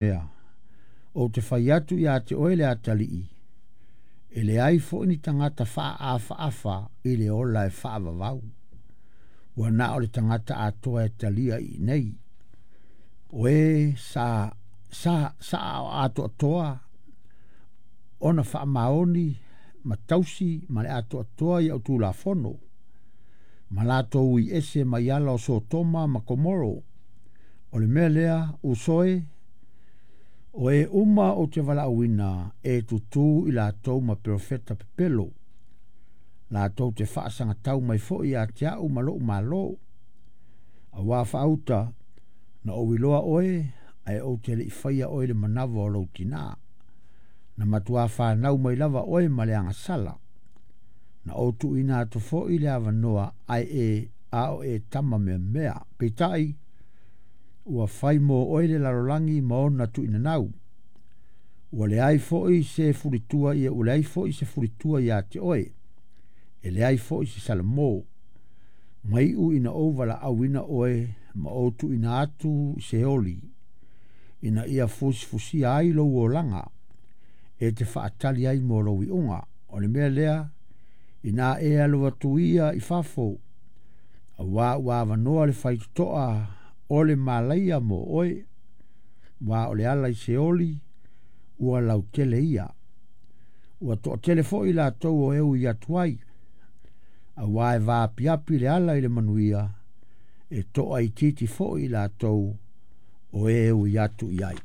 Mea, ou te fai atu ia te oe le atalii, e leai foi ni tagata faaafaafa i le ola e faavavau. Ua na o le tagata atoa e talia i inei. O e sa sa sa atoatoa ona faamaoni ma tausi ma le atoatoa i au tulafono, ma latou ui ese mai ala o Sotoma ma Komoro. O le mea lea, uso e, o e uma ou te valaauina e tutū i latou ma perofeta pepelo, latou te faasagatau mai foi ia te au ma lou malo. Auā faauta, na ou iloa oe, ae ou te le i faia oe i le manava o lou tinā. Na matuā fanau mai lava oe ma le agasala. Na ou tuuina atu foi le avanoa ae e a o e tama meamea. Peitai, ua fai mo oe le lalolagi ma ona tuuinanau. Ua leai foi se fulitua ia ua leai foi se fulitua ia te oe. E leai foi se salamo. Maiu ina ou valaauina oe ma ou tuuina atu i Seoli, ina ia fusifusia ai lou olaga, e te faatali ai mo lou iuga. O le mea lea, ina e alu atu ia i fafo, auā ua avanoa le faitotoa o le malaia mo oe, ua o le ala i Seoli, ua lautele ia. Ua toatele foi latou o e ui atu ai, auā e vaapiapi le ala i le manuia, e toaitiiti foi latou o e ui atu i ai.